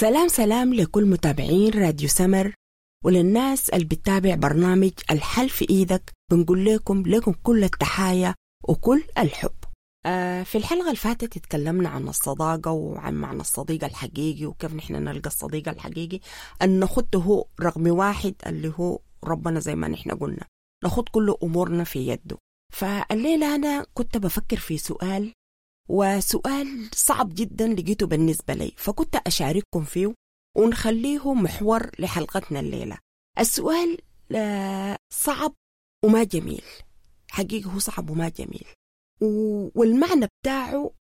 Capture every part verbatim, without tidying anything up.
سلام سلام لكل متابعين راديو سمر وللناس اللي بتتابع برنامج الحل في إيدك. بنقول لكم لكم كل التحايا وكل الحب. آه في الحلقة اللي فاتت اتكلمنا عن الصداقة وعن معنى الصديق الحقيقي وكيف نحن نلقى الصديق الحقيقي، أن نخده هو رقم واحد اللي هو ربنا، زي ما نحن قلنا نخد كل أمورنا في يده. فالليلة أنا كنت بفكر في سؤال، وسؤال صعب جدا لقيته بالنسبة لي، فكنت أشارككم فيه ونخليه محور لحلقتنا الليلة. السؤال صعب وما جميل، حقيقة هو صعب وما جميل، والمعنى بتاعه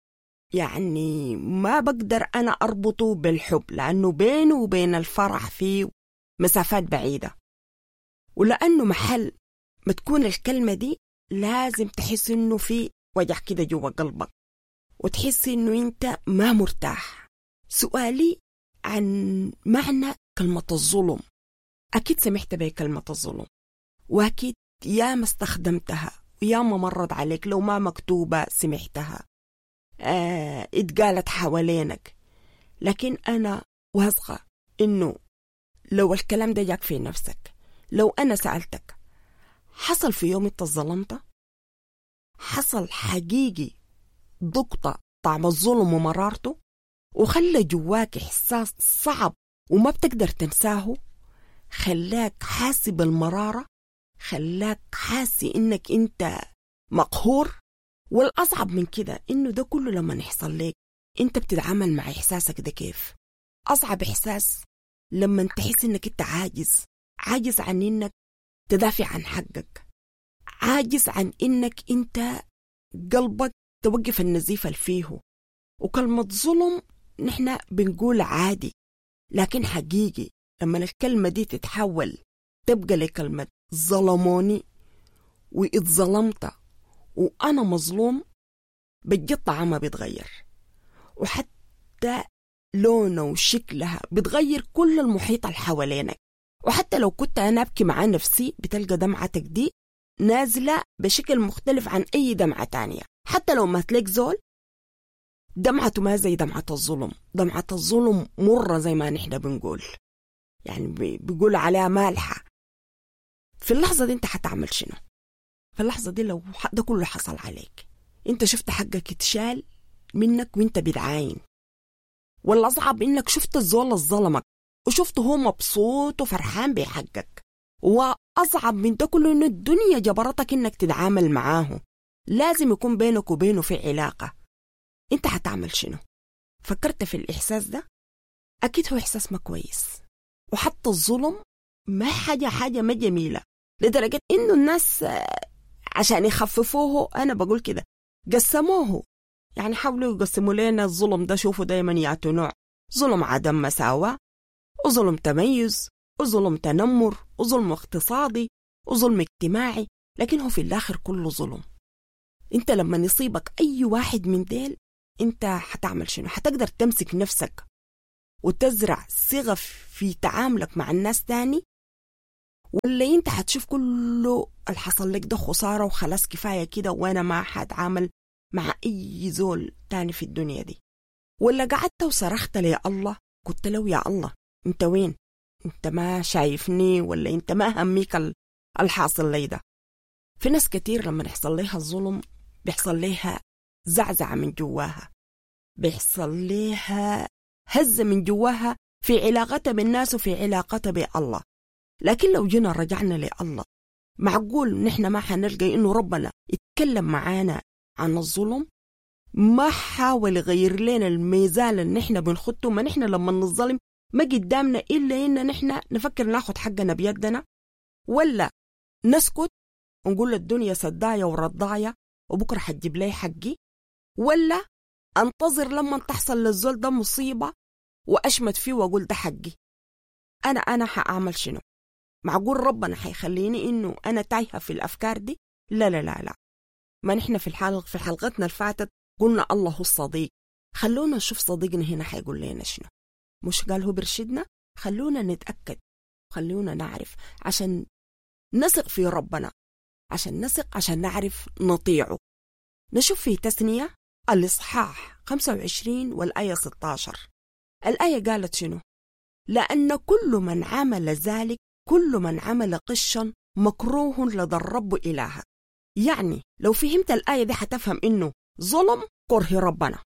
يعني ما بقدر أنا أربطه بالحب، لأنه بينه وبين الفرح فيه مسافات بعيدة، ولأنه محل ما تكون الكلمة دي لازم تحس إنه في وجع كده جوا قلبك وتحس إنه أنت ما مرتاح. سؤالي عن معنى كلمة الظلم. أكيد سمعت بكلمة الظلم، وأكيد يا ما استخدمتها ويا ما مرت عليك، لو ما مكتوبة سمعتها، آه، اتقالت حوالينك. لكن أنا واثقة إنه لو الكلام ده جاك في نفسك، لو أنا سألتك حصل في يوم انت ظلمت، حصل حقيقي ضغطة طعم الظلم ومرارته وخلى جواك إحساس صعب وما بتقدر تنساه، خلاك حاسب بالمرارة، خلاك حاسي إنك أنت مقهور. والأصعب من كده إنه ده كله لما يحصل لك أنت بتتعامل مع إحساسك ده كيف. أصعب إحساس لما تحس إنك أنت عاجز، عاجز عن إنك تدافع عن حقك، عاجز عن إنك أنت قلبك توقف النزيف اللي فيه. وكلمة ظلم نحن بنقول عادي، لكن حقيقي لما الكلمة دي تتحول تبقى لكلمة ظلموني واتظلمت وأنا مظلوم، بجد طعمها بيتغير، وحتى لونه وشكلها بتغير كل المحيط اللي حوالينك. وحتى لو كنت أنا أبكي مع نفسي بتلقى دمعتك دي نازلة بشكل مختلف عن أي دمعة تانية. حتى لو ما تلك زول دمعته ما زي دمعة الظلم. دمعة الظلم مرة زي ما نحن بنقول، يعني بيقول عليها مالحة. في اللحظة دي انت حتعمل شنو؟ في اللحظة دي لو ده كله حصل عليك، انت شفت حقك اتشال منك وانت بتعاين، والأصعب انك شفت الزول الظلمك وشفته هو مبسوط وفرحان بحقك. وأصعب من ده كله انه الدنيا جبرتك انك تتعامل معاه، لازم يكون بينك وبينه في علاقة. انت حتعمل شنو؟ فكرت في الإحساس ده؟ أكيد هو إحساس ما كويس. وحتى الظلم ما حاجة حاجة ما جميلة، لدرجة إنه الناس عشان يخففوه، أنا بقول كده قسموه، يعني حاولوا يقسموا لنا الظلم ده. شوفوا دايما يعطوا نوع ظلم عدم مساواة، وظلم تميز، وظلم تنمر، وظلم اقتصادي، وظلم اجتماعي، لكن هو في الآخر كله ظلم. انت لما يصيبك أي واحد من ديل انت حتعمل شنو؟ حتقدر تمسك نفسك وتزرع صيغة في تعاملك مع الناس تاني، ولا انت حتشوف كله اللي حصل لك ده خسارة وخلاص كفاية كده وانا ما حتعامل مع اي زول تاني في الدنيا دي؟ ولا قعدت وصرخت لي الله، قلت له يا الله انت وين؟ انت ما شايفني، ولا انت ما هميك الحاصل لي ده؟ في ناس كتير لما يحصل لها الظلم بيحصل لها زعزعة من جواها، بيحصل لها هزة من جواها في علاقتها بالناس وفي علاقتها بالله. لكن لو جينا رجعنا لله، معقول نحن ما حنلقى إنه ربنا يتكلم معانا عن الظلم؟ ما حاول يغير لنا الميزان اللي نحن بنخطه. ما نحن لما نظلم ما قدامنا إلا إن نحن نفكر ناخد حقنا بيدنا، ولا نسكت ونقول الدنيا سداية ورضاية وبكرة حتجيب لي حقي، ولا أنتظر لما تحصل للزول ده مصيبة وأشمت فيه وأقول ده حقي. أنا أنا حأعمل شنو؟ معقول ربنا حيخليني إنه أنا تايهة في الأفكار دي؟ لا لا لا لا. ما نحن في الحلقة في حلقتنا الفاتت قلنا الله هو الصديق، خلونا نشوف صديقنا هنا حيقول لنا شنو. مش قال هو برشدنا؟ خلونا نتأكد، خلونا نعرف عشان نثق في ربنا، عشان نثق، عشان نعرف نطيعه. نشوف في تثنية الإصحاح خمسة وعشرين والآية ستة عشر. الآية قالت شنو؟ لأن كل من عمل ذلك، كل من عمل قشا مكروه لدى الرب إلهك. يعني لو فهمت الآية دي حتفهم إنه ظلم كره ربنا.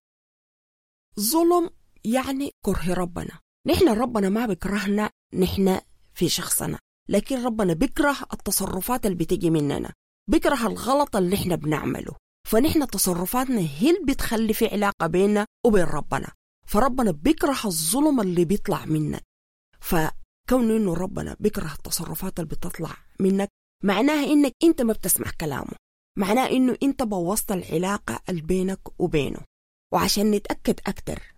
ظلم يعني كره ربنا. نحن ربنا ما بكرهنا نحن في شخصنا، لكن ربنا بكره التصرفات اللي بتجي مننا، بكره الغلط اللي احنا بنعمله. فنحن تصرفاتنا هي اللي بتخلي في علاقة بيننا وبين ربنا. فربنا بكره الظلم اللي بيطلع منك. فكون إنه ربنا بكره التصرفات اللي بتطلع منك، معناها إنك أنت ما بتسمع كلامه، معناه إنه أنت بوظت العلاقة اللي بينك وبينه. وعشان نتأكد أكتر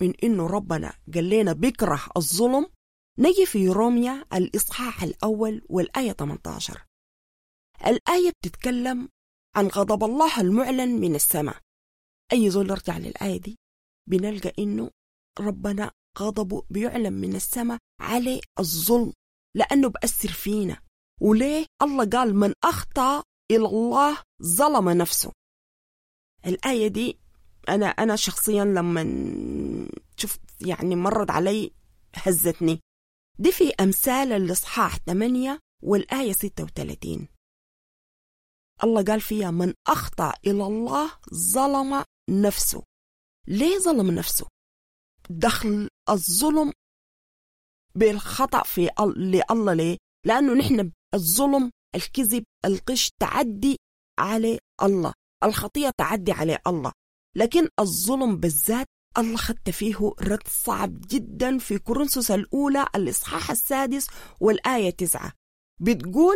من إنه ربنا قال لنا بكره الظلم، نجي في روميا الإصحاح الأول والآية ثمانية عشر. الآية بتتكلم عن غضب الله المعلن من السماء. أي زول يرجع للآية دي بنلقى إنه ربنا غضبه بيعلن من السماء على الظلم، لأنه بأثر فينا. وليه الله قال من أخطأ إلى الله ظلم نفسه؟ الآية دي أنا أنا شخصيا لما شفت يعني مرت علي هزتني. دي في أمثال الإصحاح ثمانية والآية ستة وثلاثين. الله قال فيها من أخطأ إلى الله ظلم نفسه. ليه ظلم نفسه؟ دخل الظلم بالخطأ في لله. ليه؟ لأنه نحن الظلم، الكذب، الغش تعدي على الله، الخطية تعدي على الله، لكن الظلم بالذات الله خدت فيه رد صعب جدا في كورنثوس الأولى الإصحاح السادس والآية تسعة. بتقول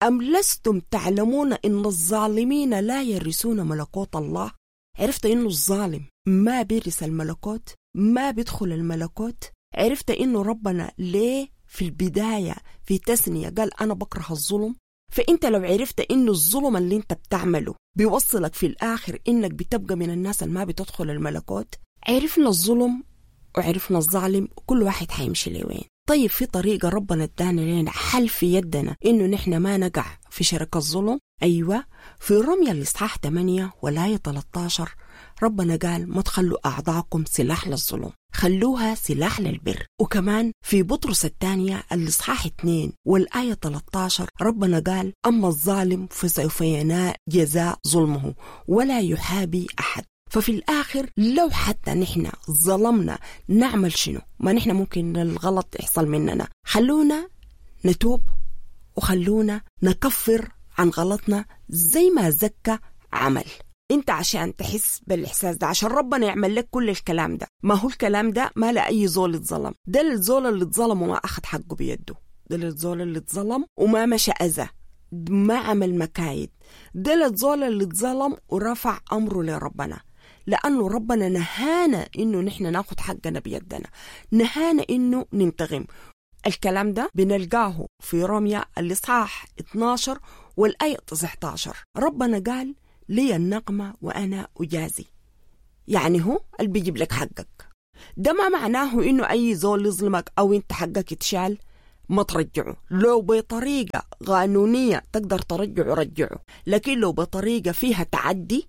أم لستم تعلمون إن الظالمين لا يرثون ملكوت الله؟ عرفت إنه الظالم ما بيرث الملكوت، ما بيدخل الملكوت. عرفت إنه ربنا ليه في البداية في تثنية قال أنا بكره الظلم؟ فأنت لو عرفت إنه الظلم اللي أنت بتعمله بيوصلك في الآخر إنك بتبقى من الناس اللي ما بتدخل الملكوت. عرفنا الظلم وعرفنا الظالم، كل واحد حيمشي لوين. طيب في طريقة ربنا ادانا لنا حل في يدنا إنه نحن ما نقع في شرك الظلم؟ أيوة، في رمية الإصحاح ثمانية والآية ثلاثة عشر ربنا قال ما تخلوا أعضاءكم سلاح للظلم، خلوها سلاح للبر. وكمان في بطرس الثانية الإصحاح اثنين والآية ثلاثة عشر ربنا قال أما الظالم فسوف ينال جزاء ظلمه ولا يحابي أحد. ففي الآخر لو حتى نحن ظلمنا نعمل شنو؟ ما نحن ممكن الغلط يحصل مننا. خلونا نتوب وخلونا نكفر عن غلطنا زي ما زكى عمل. انت عشان تحس بالإحساس ده، عشان ربنا يعمل لك كل الكلام ده، ما هو الكلام ده ما لا أي زول اتظلم. ده الزول اللي اتظلم وما أخذ حقه بيده، ده الزول اللي اتظلم وما مشى أذى، ما عمل مكايد، ده الزول اللي اتظلم ورفع أمره لربنا. لأنه ربنا نهانا إنه نحن ناخد حقنا بيدنا، نهانا إنه ننتقم. الكلام ده بنلقاه في روميا الإصحاح اثناشر والآية تسعة عشر. ربنا قال لي النقمة وأنا أجازي، يعني هو اللي بيجيب لك حقك. ده ما معناه إنه أي زول يظلمك أو أنت حقك يتشال ما ترجعه. لو بطريقة قانونية تقدر ترجعه رجعه، لكن لو بطريقة فيها تعدي،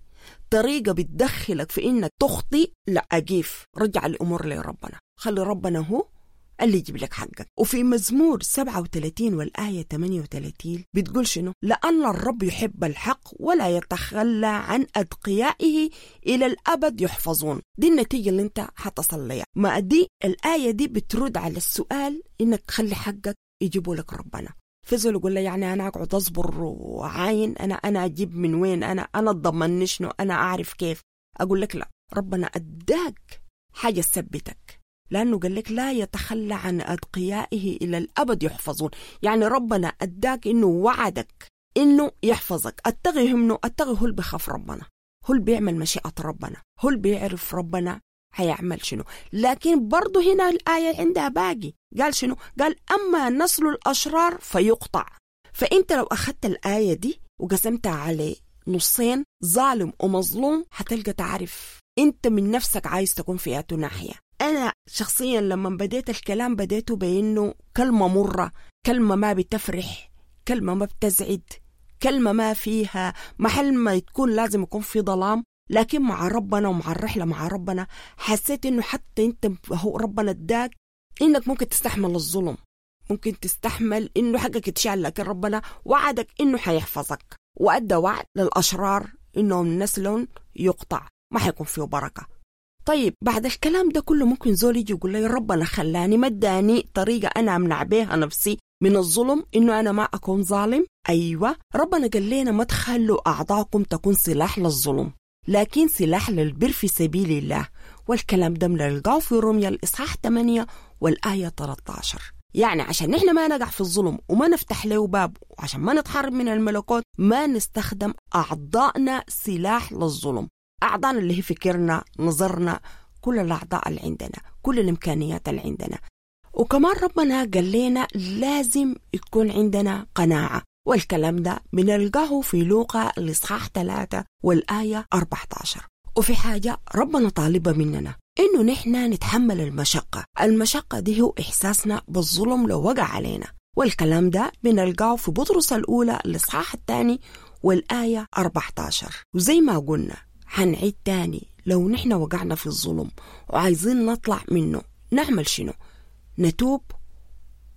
طريقة بتدخلك في إنك تخطي، لا أقيف، رجع الأمور لربنا، خلي ربنا هو اللي يجيب لك حقك. وفي مزمور سبعة وثلاثين والآية ثمانية وثلاثين بتقول شنو؟ لأن الرب يحب الحق ولا يتخلى عن أتقيائه إلى الأبد يحفظون. دي النتيجة اللي انت حتصل لها. ما دي الآية دي بترد على السؤال إنك خلي حقك يجيبه لك ربنا. فزول يقول لي يعني أنا أقعد أصبر وعاين، أنا أنا أجيب من وين، أنا أنا أتضمن شنو، أنا أعرف كيف؟ أقول لك لا، ربنا أداك حاجة تثبتك، لأنه قال لك لا يتخلى عن أتقيائه إلى الأبد يحفظون. يعني ربنا أداك إنه وعدك إنه يحفظك. أتغي منه، أتغي هو اللي بخاف ربنا، هو اللي بيعمل مشيئة ربنا، هو اللي بيعرف ربنا هيعمل شنو. لكن برضه هنا الآية عندها باقي، قال شنو؟ قال أما نسل الأشرار فيقطع. فأنت لو أخذت الآية دي وقسمتها على نصين، ظالم ومظلوم، هتلقى تعرف أنت من نفسك عايز تكون في أي ناحية. أنا شخصيا لما بديت الكلام بديته بأنه كلمة مرة، كلمة ما بتفرح، كلمة ما بتزعد، كلمة ما فيها محل ما تكون لازم يكون في ظلام. لكن مع ربنا ومع الرحلة مع ربنا حسيت إنه حتى أنت هو ربنا اداك إنك ممكن تستحمل الظلم، ممكن تستحمل إنه حقك يتشال، لكن ربنا وعدك إنه حيحفظك، وأدى وعد للأشرار إنهم نسل يقطع، ما حيكون فيه بركة. طيب بعد الكلام ده كله ممكن زول يجي يقول لي ربنا خلاني ما اداني طريقة أنا أمنع بيها نفسي من الظلم، إنه أنا ما أكون ظالم. أيوة، ربنا قال لنا ما تخلوا أعضاءكم تكون سلاح للظلم، لكن سلاح للبر في سبيل الله. والكلام ده بنلقاه في روميا الإصحاح ثمانية والآية ثلاثة عشر. يعني عشان نحن ما نقع في الظلم وما نفتح له باب، وعشان ما نتحرم من الملكوت، ما نستخدم أعضائنا سلاح للظلم. أعضائنا اللي هي فكرنا، نظرنا، كل الأعضاء اللي عندنا، كل الإمكانيات اللي عندنا. وكمان ربنا قال لنا لازم يكون عندنا قناعة، والكلام ده بنلقاه في لوقا الإصحاح ثلاثة والآية أربعة عشر. وفي حاجة ربنا طالبة مننا، إنه نحن نتحمل المشقة. المشقة دي هو إحساسنا بالظلم لو وقع علينا، والكلام ده بنلقاه في بطرس الأولى الإصحاح الثاني والآية أربعة عشر. وزي ما قلنا حنعيد تاني، لو نحن وقعنا في الظلم وعايزين نطلع منه نعمل شنو؟ نتوب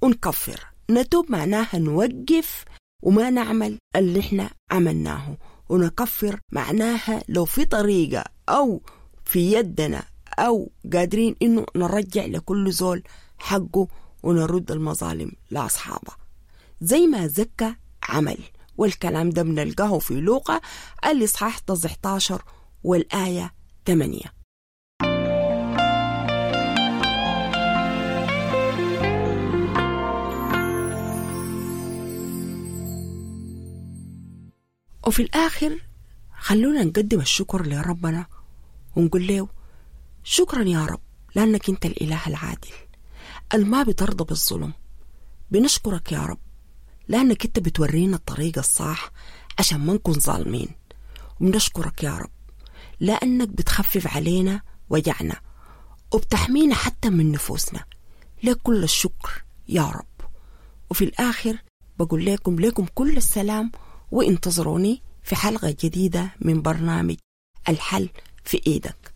ونكفر. نتوب معناها نوقف وما نعمل اللي احنا عملناه، ونكفر معناها لو في طريقة أو في يدنا أو قادرين إنه نرجع لكل زول حقه ونرد المظالم لأصحابه، زي ما زكى عمل. والكلام ده بنلقاه في لوقا الإصحاح تسعة عشر والآية ثمانية. وفي الآخر خلونا نقدم الشكر لربنا ونقول له شكرا يا رب، لأنك أنت الإله العادل الما بترضى بالظلم. بنشكرك يا رب لأنك أنت بتورينا الطريق الصح عشان ما نكون ظالمين. وبنشكرك يا رب لأنك بتخفف علينا وجعنا وبتحمينا حتى من نفوسنا. لك كل الشكر يا رب. وفي الآخر بقول لكم لكم كل السلام، وانتظروني في حلقة جديدة من برنامج الحل في إيدك.